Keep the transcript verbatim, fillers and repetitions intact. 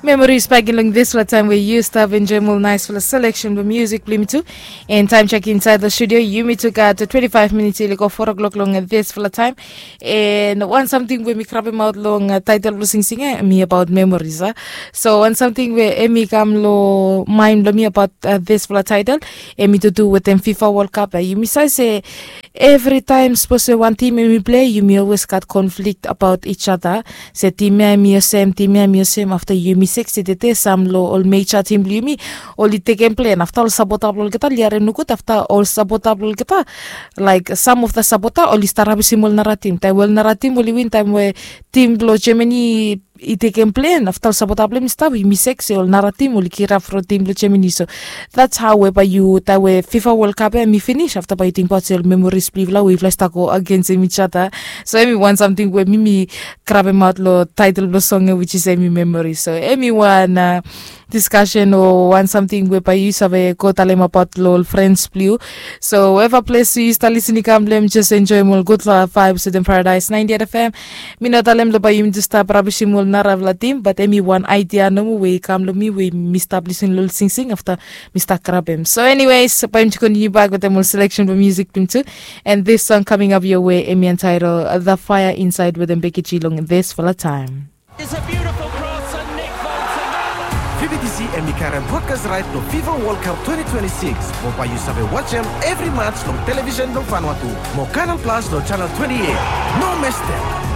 Memories back in long this fala time where you stop enjoy more nice fala selection of music blim too. And time check inside the studio, you me took out to twenty-five minutes ili go four o'clock long this fala time. And one something where me crab him out long uh, title blue sing sing eh, me about memories. Uh. So one something where emi come lo mind lo me about uh, this fala title. Emi to do with them FIFA World Cup. Uh, you me say say Evri taem sapos we wan tim em i plei yumi olwes gat konflik abaot each ada. Se tim ya em i olsem tim ya em i olsem afta yumi sek se tete sam long ol meja tim blong yumi oli tekem plen afta ol sapota blong olgeta oli harim nogud afta ol sapota blong olgeta laik sam of da sapota oli stap rabisim ol nara tim taem we ol nara tim oli win taem we tim blong jemani i tekem plen afta ol sapota blong em i stap yumi sek se ol nara tim oli kirap from tim blong jemani so that's how we bae yu taem we fifa world cup ya em i finis afta bae yu tingbaot se ol memoris blong yufala we yufala i stap go agens em each other. So em i wan samting we mi mi krabemaot long taetel blong song ya which is em i memoris so em i wan diskasen o wan samting we bae yu save go talemabaot long ol frens blong yu. So weva ples yu stap lisin i kam blong em jes enjoem ol gud vibes wetem paradise ninety-eight fm. Mi no talem long bae yumi tu stap rabisim ol narafala tim bat em i wan aidia nomo we i kam long mi we mi stap lisin long ol singsing afta mi stap grabem. So anyways bae yumi tu kontiniu bak wetem ol seleksen blong musik blong tu. And this song coming up your way em i entitled the fire inside wetem bekiji long this fala time. It's a beautiful cross and Nick Foden. Fi bi disi em i karem broadcast right long fifa world cup twenty twenty-six mo bae yu save wajem evri match long televisen blong fanua tu mo canal plus long channel twenty-eight. No mestem.